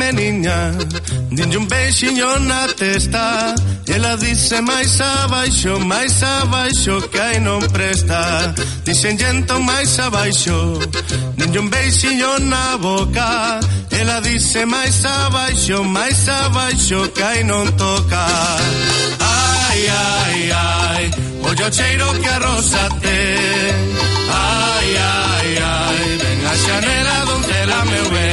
meniña, dinlle un beixiño na testa, e ela dice máis abaixo, que aí non presta. Dixen entón máis abaixo, dinlle un beixiño na boca, ela dice máis abaixo, que aí non toca. Ai, ai, ai, ollo cheiro que a rosa ten. Ai, ai, ai, ven a xanela donde la meu ve.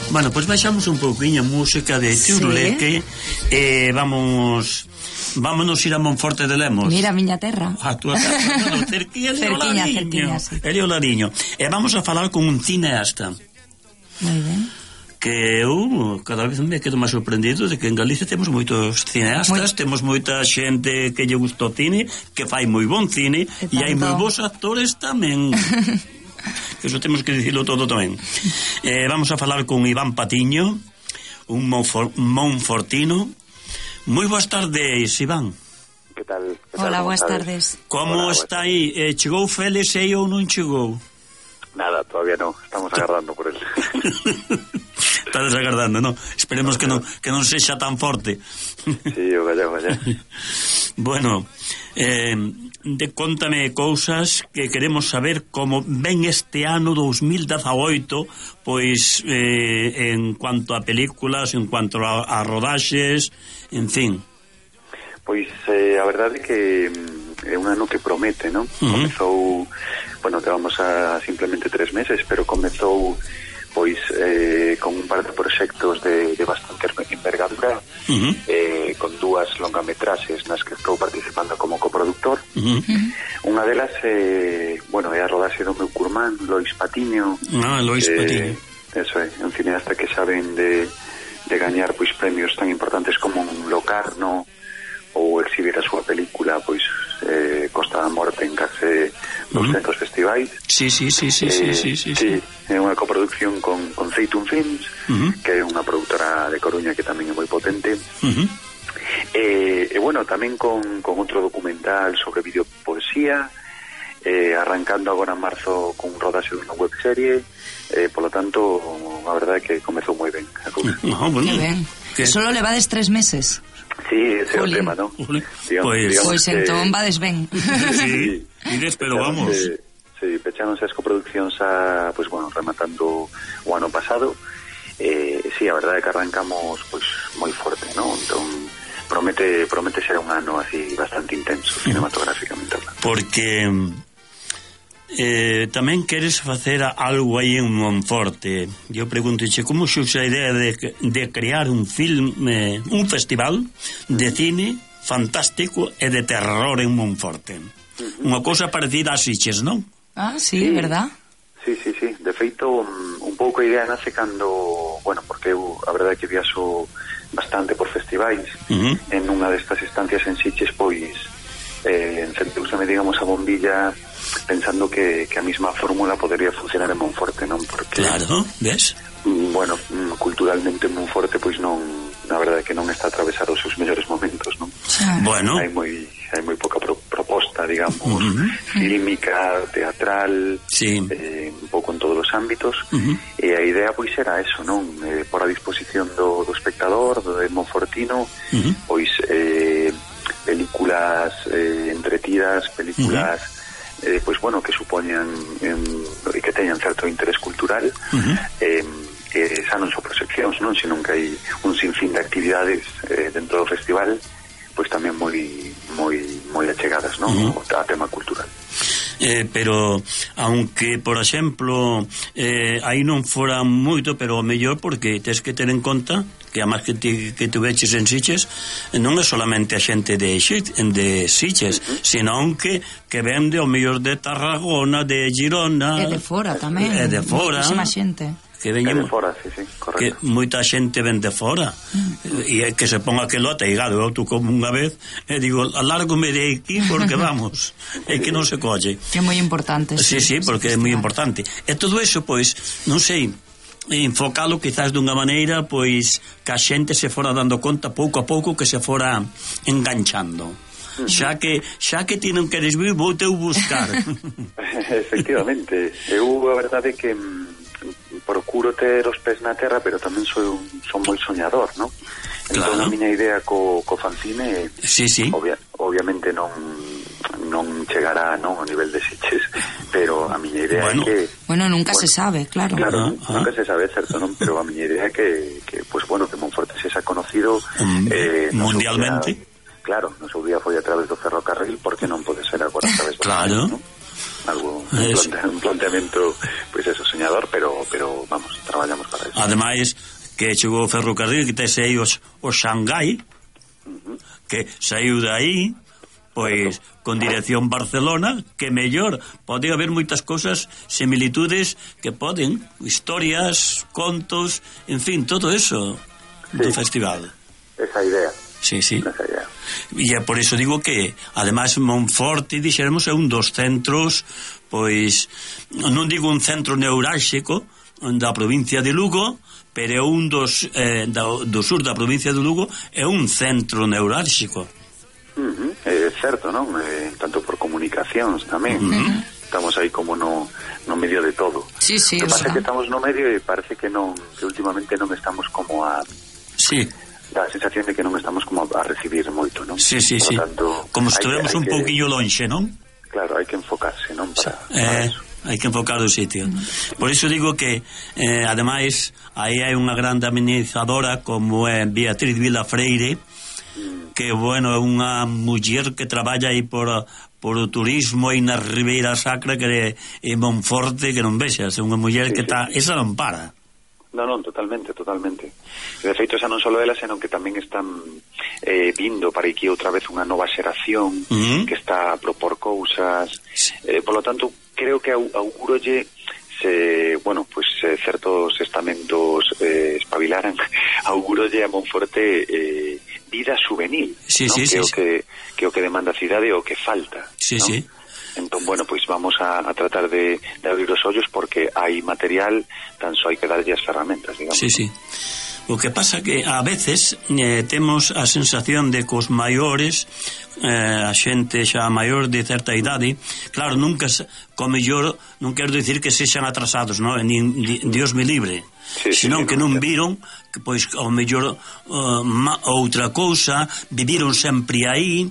Bueno, pois baixamos un pouquinho a música de Turuleque e vámonos ir a Monforte de Lemos. Mira a miña terra. A túa terra, bueno, cerquilla, sí. Eli o Lariño. E vamos a falar con un cineasta. Moi ben. Que eu cada vez me quedo máis sorprendido de que en Galicia temos moitos cineastas, temos moita xente que lle gusta o cine, que fai moi bon cine, e hai moi bons actores tamén. Que eso temos que dicirlo todo tamén. Vamos a falar con Iván Patiño, un monfortino. Moi boas tardes, Iván. Que tal? Hola, boas tardes. Como está aí? Chegou Félix ou non chegou? Nada, todavía no, estamos agardando por él. Estades agardando, non? Esperemos que non sexa tan forte. Sí, vaya. Bueno, cóntame cousas que queremos saber como ven este ano 2018, pois en cuanto a películas, en cuanto a rodaxes, en fin. Pois a verdade é que é un ano que promete, non? Comezou, bueno, que vamos a simplemente 3 meses, pero comezou pois con un par de proxectos de bastante envergadura, con 2 longametraxes nas que estou participando como coproductor. Unha delas é a rodaxe do meu curmán, Lois Patiño. Lois Patiño. Eso é, un cineasta que saben de gañar pois premios tan importantes como un Locarno ou exhibir a súa película pois Costa da Morte en case 200 festivais. Sí. É unha coproducción con Zeitum Films, que é unha produtora de Coruña que tamén é moi potente. Bueno, tamén con outro documental sobre videopoesía, arrancando agora en marzo con un rodaxe dunha webserie, polo tanto, a verdade é que comezou moi ben a cousa. Bueno. Ben. Solo levades 3 meses. Sí, ese é o tema, ¿no? Pois entón vades ben. Sí, pero vamos. Sí, pecháronse as coproduccións rematando o ano pasado. Sí, a verdade é que arrancamos pois moi forte, ¿no? Entón promete ser un ano así bastante intenso cinematográficamente. Porque tamén queres facer algo aí en Monforte. Eu preguntoche como xurxe a idea de crear un filme, un festival de cine fantástico e de terror en Monforte. Unha cousa parecida a Sitges, non? Sí, verdad? Sí. De feito, un pouco a idea nace cando, porque eu a verdade é que viaxo bastante por festivais. En unha destas estancias en Sitges, pois encenteuseme, digamos, a bombilla pensando que a mesma fórmula podría funcionar en Monforte, non? Porque, claro, ves? Culturalmente Monforte, pois non, na verdade que non está a atravesar os seus mellores momentos, non? Bueno. Hai moi pouca proposta, digamos, fílmica, teatral, un pouco en todos os ámbitos, e a idea pois era eso, non? Por a disposición do espectador, do monfortino, pois películas entretidas, películas que supoñan e que teñan certo interés cultural, xa non son proxeccións, non, senón que hai un sinfín de actividades dentro do festival, pois tamén moi achegadas, non, a tema cultural. Pero aunque, por exemplo, aí non fora moito, pero o mellor, porque tens que ter en conta que a máis que tu veches en Sitges non é solamente a xente de Sitges, senón que vende o mellor de Tarragona, de Girona, e de fora tamén, de fora, moitísima xente que veñen de fora, sí, correcto. Que moita xente ven de fora e é que se ponga aquilo ateigado. Eu como unha vez e digo, alárgome de aquí porque vamos, é que non se colle. Que é moi importante. Sí, porque é moi importante. E todo eso, pois, non sei, enfocalo quizás dunha maneira pois que a xente se fora dando conta pouco a pouco, que se fora enganchando. Xa que ti non queres vir, vou teu buscar. Efectivamente, eu a verdade é que procuro ter os pés na terra, pero tamén son moi soñador, non? Entón a miña idea co fanzine obviamente non chegará, non, ao nivel de Sitges, pero a miña idea é que... Bueno, nunca se sabe, claro. Claro, nunca se sabe, certo, non? Pero a miña idea é que pues bueno, que Monforte se xa conocido mundialmente. Claro, no seu día foi a través do ferrocarril, porque non pode ser agora a través do claro, ¿no? Algo, un planteamento pues eso, soñador, pero vamos, traballamos para eso. Ademais, que chegou o ferrocarril, que tese aí o Xangai, que saiu de aí, pois con dirección Barcelona, que mellor pode haber moitas cousas, similitudes que poden, historias, contos, en fin, todo eso do festival. Esa idea. Sí. Esa idea. E é por iso digo que ademais Monforte, dixéramos, é un dos centros, pois non digo un centro neurálxico da provincia de Lugo, pero é un dos do sur da provincia de Lugo, é un centro neurálxico. É certo, non? Tanto por comunicacións tamén. Estamos aí como no medio de todo. Sí, o que pasa é que estamos no medio e parece que últimamente non estamos como a... Sí. Dá a sensación de que non estamos como a recibir moito, non? Sí. Tanto, como se estivemos un pouquinho lonxe, non? Claro, hai que enfocarse, non? Para eso. Hai que enfocar o sitio. Por iso digo que ademais aí hai unha grande amenizadora como é Beatriz Vilafreire, que bueno, é unha muller que traballa aí por o turismo aí na Ribeira Sacra, que é Monforte, que non vexas, é unha muller que está, esa non para. Non, totalmente. De feito, xa non só ela, senón que tamén están vindo para aquí outra vez unha nova xeración que está a propor cousas. Por lo tanto, creo que augurolle certos estamentos espabilaran, augurolle a Monforte vida juvenil, que o que demanda a cidade o que falta. Sí. Entón, bueno, pois vamos a tratar de abrir os ollos, porque hai material, tan só hai que darlle as ferramentas, digamos. Sí. O que pasa que a veces temos a sensación de que os maiores, a xente xa maior de certa idade, claro, nunca, como mellor, non quero dicir que sexan atrasados, non? Dios me libre, senón que non viron que, pois, ao mellor outra cousa, viviron sempre aí,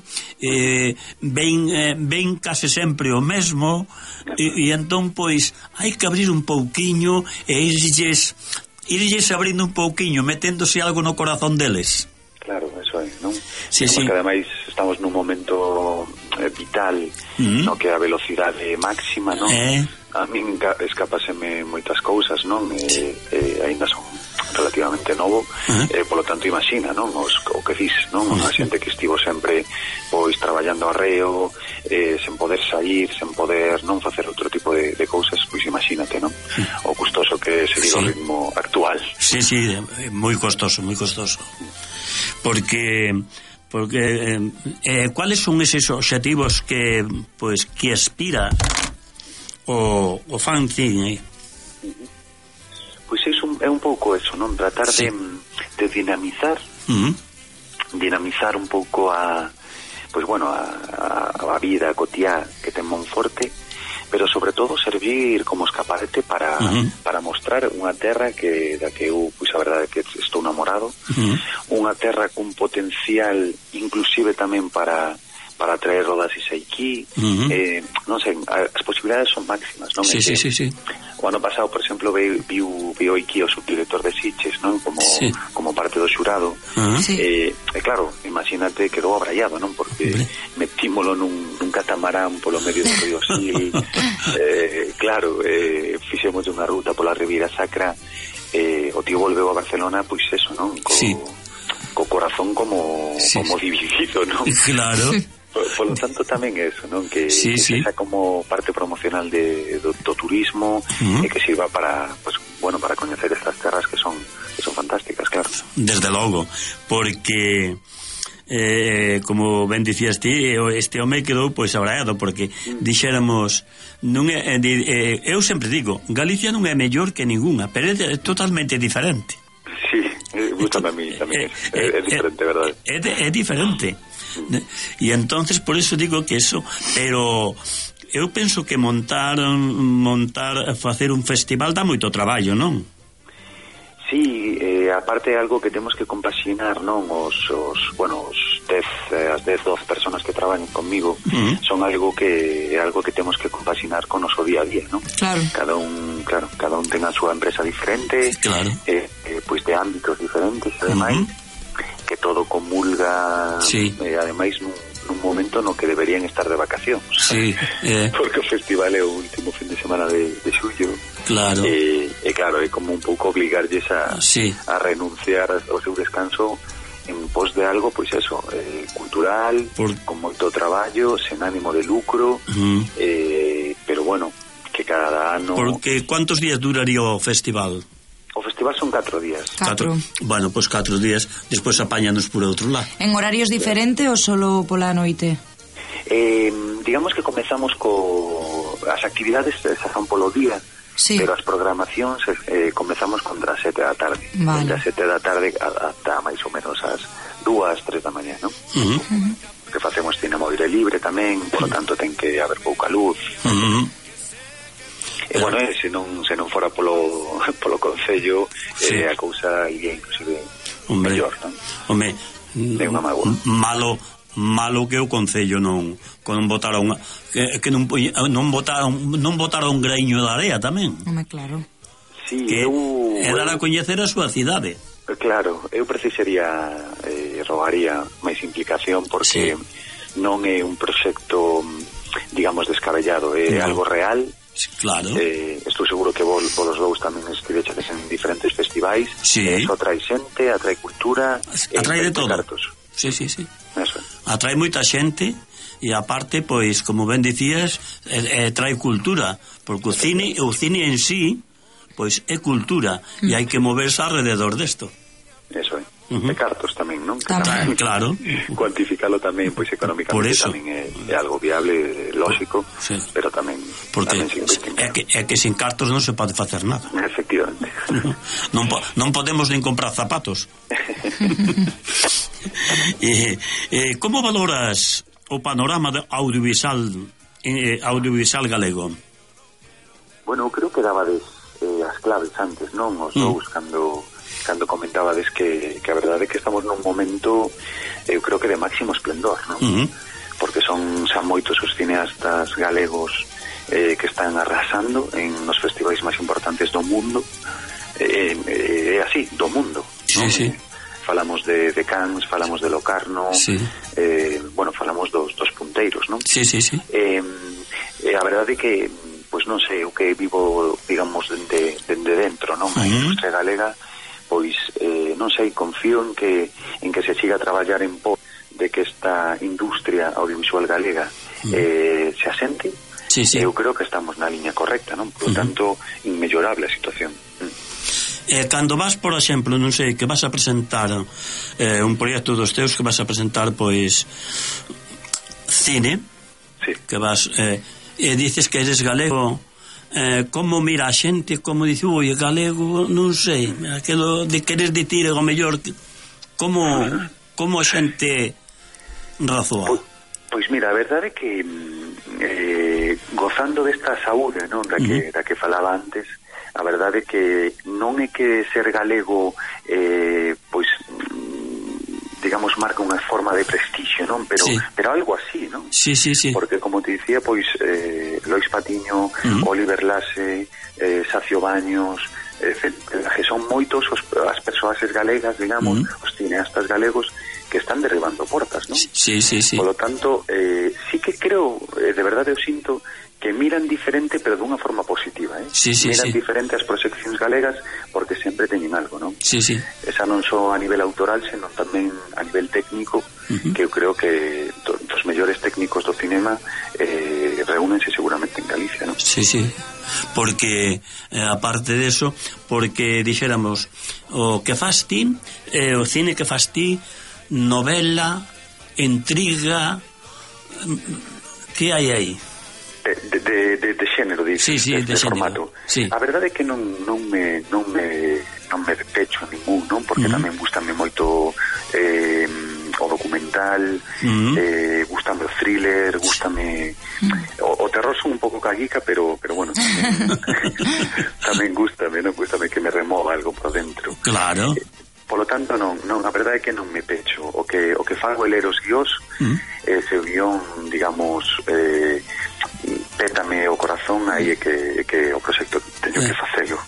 ven case sempre o mesmo, e entón, pois, hai que abrir un pouquiño e irlles abrindo un pouquiño, meténdose algo no corazón deles. Claro, eso é, non? Sí. Que ademais estamos nun momento vital, no que a velocidade máxima, non? A min escapaseme moitas cousas, non? Ainda son relativamente novo, polo tanto imagina, non? O que dis, non? A xente que estivo sempre pois traballando arreo, sen poder sair, sen poder non facer outro tipo de cousas, pois imagínate, non? O custoso que se diga o ritmo actual. Sí, moi costoso. Porque cuáles son eses obxectivos que aspira o fanzine? Pois é un pouco eso, non? Tratar de dinamizar un pouco a vida cotiá que ten Monforte, pero sobre todo servir como escaparate para mostrar unha terra da que eu, pois a verdade é que estou namorado, unha terra cun potencial inclusive tamén para traer rodaxes aquí, non sei, as posibilidades son máximas, non? Sí. O ano pasado, por exemplo, viu aquí o subdirector de Sitges, non? Como parte do xurado. Claro, imagínate, quedou abraiado, non? Porque metímolo nun catamarán polo medio do río Sil. Claro, fixemos unha ruta pola Ribeira Sacra, o tío volveu a Barcelona, pois eso, non? Co corazón como dividido, non? Claro. Por lo tanto tamén eso, non? Que sea como parte promocional do turismo, e que sirva para coñecer estas terras que son fantásticas, claro. Desde logo, porque como ben dicías ti, este home quedou pois abraiado, porque dixéramos non é, eu sempre digo, Galicia non é mellor que ningunha, pero é totalmente diferente. Sí, gusta a mí tamén, é diferente, verdade? É diferente. E entonces por eso digo que eso, pero eu penso que facer un festival dá moito traballo, non? Sí, aparte é algo que temos que compaxinar, non? As 10, 12 personas que traballan conmigo son algo que temos que compaxinar con o noso día a día, non? Claro. Cada un ten a súa empresa diferente, claro. Pois de ámbitos diferentes, ademais, que todo comulga, sí. Ademais nun momento no que deberían estar de vacacións. Sí, porque o festival é o último fin de semana de xullo. Claro. Claro, é como un pouco obligarlles a renunciar ao seu descanso en pos de algo, pois eso, cultural, con moito traballo, sen ánimo de lucro, pero bueno, que cada ano... Porque cuántos días duraría o festival? O festival son 4 días. 4. Bueno, pois 4 días, despois apáñanos por outro lado. En horarios diferentes ou solo pola noite? Digamos que comezamos as actividades son polo día, sí. Pero as programacións comezamos contra as 7 da tarde. Vale. Contra as 7 da tarde ata máis ou menos as 2, 3 da mañá, non? Que facemos cinema ao aire libre tamén, por lo tanto ten que haber pouca luz. E bueno, se non fora polo concello, a cousa iría inclusive mellor, non? Home, malo que o concello non botaron que non botaron un greño de area tamén. Home, claro. Sí, é dar a coñecer a súa cidade. Claro, eu precisaría rogaría máis implicación, porque non é un proxecto, digamos, descabellado, é algo real. Claro. Estou seguro que vos dous tamén escribeches en diferentes festivais. Eso atrae xente, atrae cultura, atrae de todo. Cartos. Sí. Eso. Atrae moita xente e aparte, pois, como ben dicías, trae cultura, porque o cine en sí, pois é cultura e hai que moverse alrededor desto. Eso é. De cartos tamén, non? Tamén, claro. Cuantificalo tamén, pois económicamente tamén é algo viable, lógico, pero tamén porque é que sin cartos non se pode facer nada. Efectivamente. Non podemos nin comprar zapatos. Como valoras o panorama audiovisual galego? Bueno, creo que dabades as claves antes, non? Os dous cando comentabades que a verdade é que estamos nun momento, eu creo que de máximo esplendor, non? Porque son xa moitos os cineastas galegos que están arrasando en nos festivais máis importantes do mundo, é así, do mundo, non? Sí. Falamos de Cannes, falamos de Locarno, bueno, falamos dos punteiros, non? Sí. A verdade é que, pois non sei, o que vivo, digamos, dende dentro, non? A industria galega, pois, non sei, confío en que se siga a traballar en pos de que esta industria audiovisual galega se asente. Eu creo que estamos na liña correcta, non? Por lo tanto, inmellorable a situación. Cando vas, por exemplo, non sei, que vas a presentar un proxecto dos teus, que vas a presentar, pois, cine, que vas e dices que eres galego, como mira a xente, como dice, oi, galego, non sei, aquilo de queres dicir o mellor, como a xente razoa? Pois mira, a verdade é que gozando desta saúde, non, da que falaba antes, a verdade é que non é que ser galego pois digamos marca unha forma de prestixio, non? Pero algo así, non? Sí. Porque como te dicía, pois Lois Patiño, Oliver Lasse, Sacio Baños, que son moitos as persoaxes galegas, digamos, os cineastas galegos que están derribando portas, non? Sí. Por lo tanto, sí que creo, de verdade eu sinto que miran diferente, pero dunha forma positiva, miran diferente as proxeccións galegas porque sempre teñen algo, non? Sí. Esa non só a nivel autoral, senón tamén a nivel técnico, que eu creo que os mellores técnicos do cinema reúnense seguramente en Galicia, non? Sí. Porque, aparte de eso, porque dixéramos, o que fas ti, o cine que fas ti, novela, intriga, que hai aí? De xénero, dices, sí, de formato. Sí. A verdade é que non me pecho ningún, non? Porque tamén gustame moito o documental, gustame o thriller, gustame o terror, son un pouco caguica, pero bueno, tamén gustame, non? Gustame que me remova algo por dentro. Claro. Polo tanto, non, a verdade é que non me pecho. O que fago é ler os guiós, se o guión, digamos, pétame o corazón, aí é que o proxecto teño que facelo.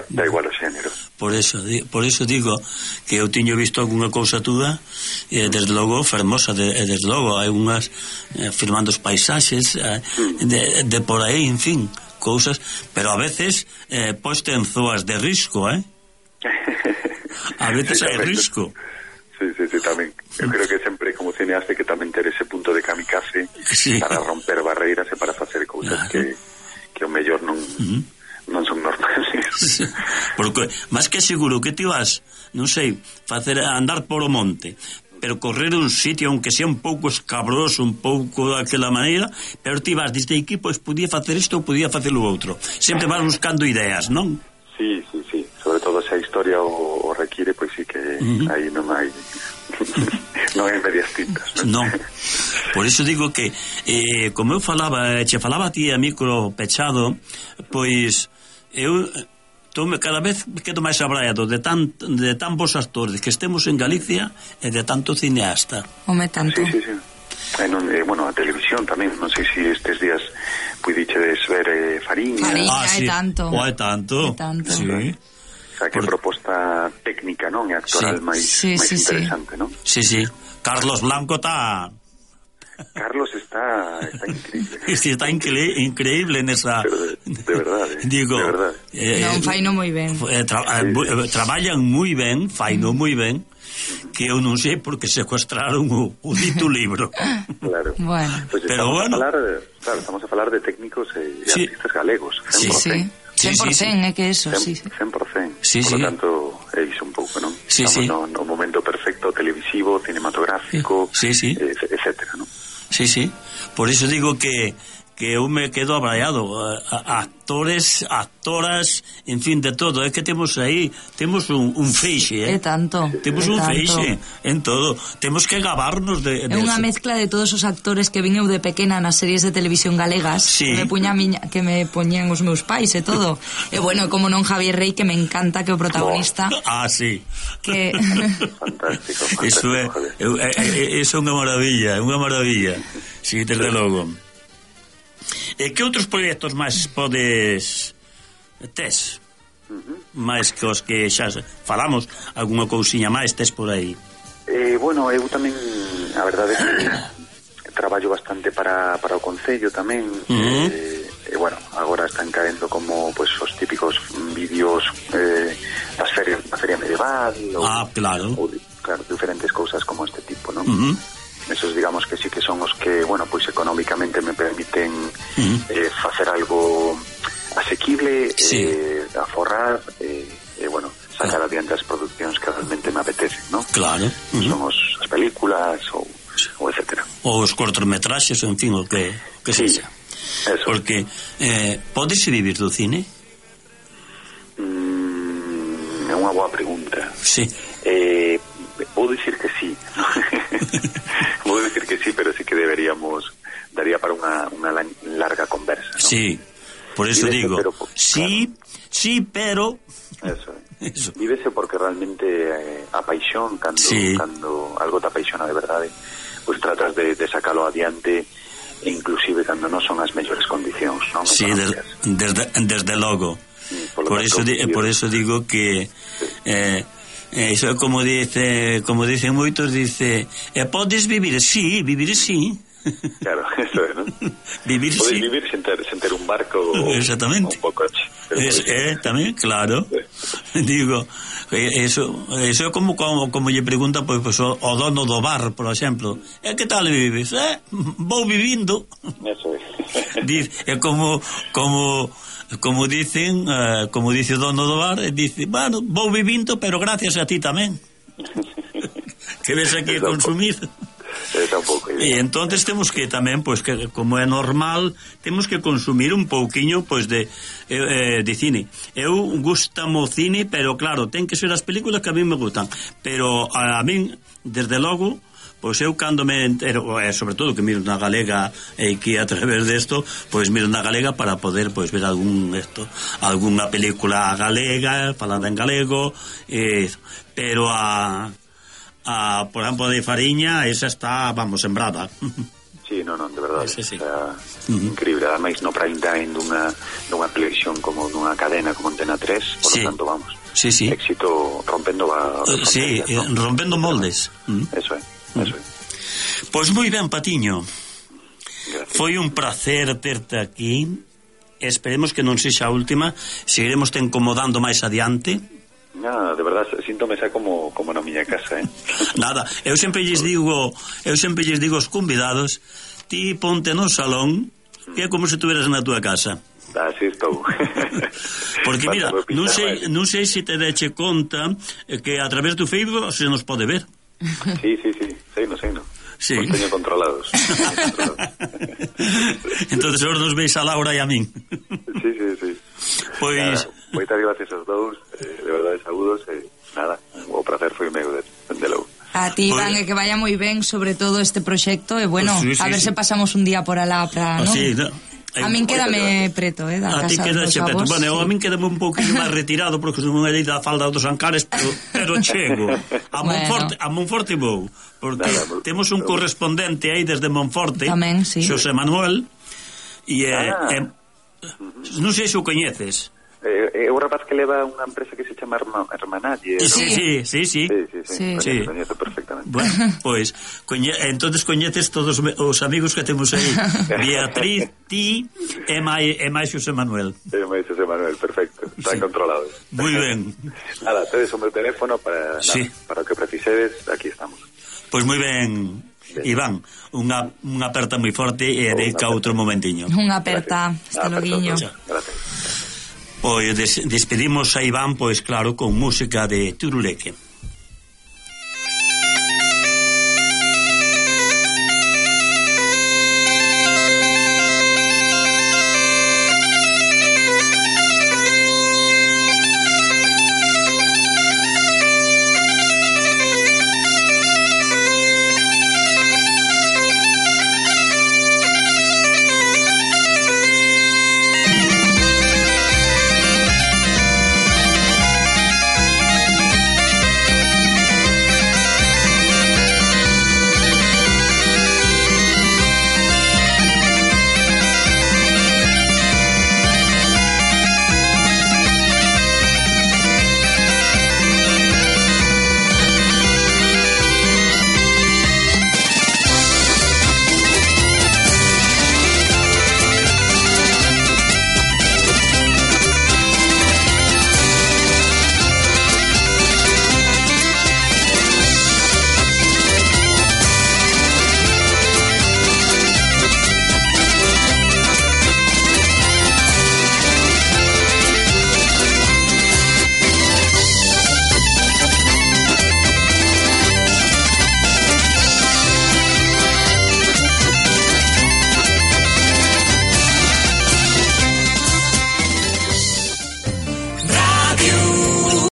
Da igual o xénero. Por eso digo que eu tiño visto algunha cousa túa, desde logo fermosa, desde logo hai unhas filmando os paisaxes de por aí, en fin, cousas, pero a veces poste en zoas de risco, a veces hai risco. Sí, tamén. Eu creo que sempre como cineasta que tamén ter ese punto de kamikaze para romper barreiras e para facer cousas que o mellor non son normales. Porque máis que seguro que ti vas, non sei, facer andar por o monte, pero correr un sitio aunque sea un pouco escabroso, un pouco daquela maneira, pero ti vas desde aquí, pois podía facer isto ou podía facer o outro. Sempre vas buscando ideas, non? Sí. Sobre todo se a historia o requiere, pois sí que aí non hai non hai medias tintas, non? Por iso digo que como eu falaba a ti a micro pechado, pois eu cada vez quedo máis abraiado de tan bons actores que estemos en Galicia e de tanto cineasta. Home, tanto. Sí. Bueno, a televisión tamén, non sei se estes días puidichedes ver Fariña, sí. tanto. Sí. O sea, que proposta técnica, non? E actoral máis interesante, non? Sí. Carlos Blanco Carlos está increíble. Sí, está increíble nesa... De verdade. Digo, de verdade. Non, faino moi ben. Traballan moi ben, faino moi ben, que eu non sei porque secuestraron o dito libro. Claro. Bueno. Pues estamos a falar de técnicos e artistas galegos. 100%. 100%, é que eso, 100%. Por lo tanto, é iso un pouco, non? Estamos no momento perfecto televisivo, cinematográfico, etcétera, non? Sí. Por iso digo que eu me quedo abraiado. Actores, actoras, en fin, de todo. É que temos aí, temos un feixe, É tanto. Temos un feixe en todo. Temos que gabarnos de é unha mezcla de todos os actores que vin eu de pequena nas series de televisión galegas, que me poñían os meus pais e todo. E bueno, como non Javier Rey, que me encanta, que o protagonista. Sí. Que fantástico. Eso é unha maravilla. Sí, desde logo. E que outros proxectos máis tes? máis que os que xa falamos, algunha cousiña máis tes por aí? Bueno, eu tamén, a verdade é que traballo bastante para o Concello tamén. Bueno, agora están caendo como pues os típicos vídeos das ferias, da feria medieval claro, diferentes cousas como este tipo, non? Esos digamos que sí que son os que, bueno, pues económicamente me permiten facer algo asequible, aforrar, bueno, sacar adiante as producións que realmente me apetecen, ¿no? Claro. Son as películas ou etcétera. Ou os cortometraxes, en fin, o que sexa. Eso. Porque podes vivir do cine? É unha boa pregunta. Sí. Vou dicir que sí. Vou dicir que sí, pero sí que daría para unha larga conversa, ¿no? Sí, por eso digo, sí, pero Eso. Vívese porque realmente a paixón, cando algo te apaixona de verdade, pues tratas de sacalo adiante, e inclusive cando non son as mellores condicións, non? Sí, desde logo. Por eso digo que eso é como dicen moitos, podes vivir, sí, vivir sí. Claro, eso é, non? Vivir podes sí. Vivir sen ter un barco exactamente. un coche. Tamén, claro. Digo, eso é como lle pregunta pues, o dono do bar, por exemplo, que tal vives? Vou vivindo. Eso é. É como dice o dono do bar, dice, bueno, vou vivindo, pero gracias a ti tamén. Que ves aquí a consumir. Está un pouco. E entonces temos que tamén, pois, que como é normal, temos que consumir un pouquiño, pois, de cine. Eu gustamo o cine, pero claro, ten que ser as películas que a mí me gustan. Pero a min, desde logo, pois eu cando me entero, sobre todo que miro na galega e que a través desto, pois miro na galega para poder pois ver algunha película galega falada en galego, pero por exemplo de Fariña, esa está, vamos, sembrada. Sí, non, de verdade, sí. Increíble, ademais no prime time dunha televisión como dunha cadena como Antena 3, por lo tanto, vamos, éxito rompendo rompendo moldes. Eso é. Pois moi ben, Patiño. Gracias. Foi un placer terte aquí. Esperemos que non sexa a última. Seguiremos te incomodando máis adiante. Nada, de verdade, síntome xa como na miña casa, Nada, eu sempre lles digo aos convidados, ti ponte no salón, que é como se tuveras na túa casa. Así estou. Porque mira, non sei se te deche conta que a través do Facebook se nos pode ver. Sí, sei no. Sí. Os teño controlados. Entonces ahora nos veis a Laura e a min. Sí. Pois moitas gracias aos dous, de verdade, saúdos, nada, o prazer foi meu de logo. A ti, Iván, que vaya moi ben sobre todo este proxecto e bueno, a ver se pasamos un día por alá para, ¿no? Sí, a min quédame preto, da casa dos avós. Bueno, a min quédame un pouquinho máis retirado porque non é da falda dos Ancares, pero chego a Monforte vou, porque temos un correspondente aí desde Monforte, tamén, sí. Xosé Manuel, e non sei se o coñeces. É o rapaz que leva unha empresa que se chama Hermanalle, ¿no? Sí. Coñezo perfectamente. Bueno, pois, entonces coñeces todos os amigos que temos aí. Beatriz, ti e máis Xosé Manuel. Perfecto. Están controlados. Moi ben. Nada, tedes o meu teléfono para o que precisedes, aquí estamos. Pois moi ben, Iván, unha aperta moi forte e dedica outro momentiño. Unha aperta, hasta loguiño. Gracias. Pois despedimos a Iván, pois claro, con música de Turuleque.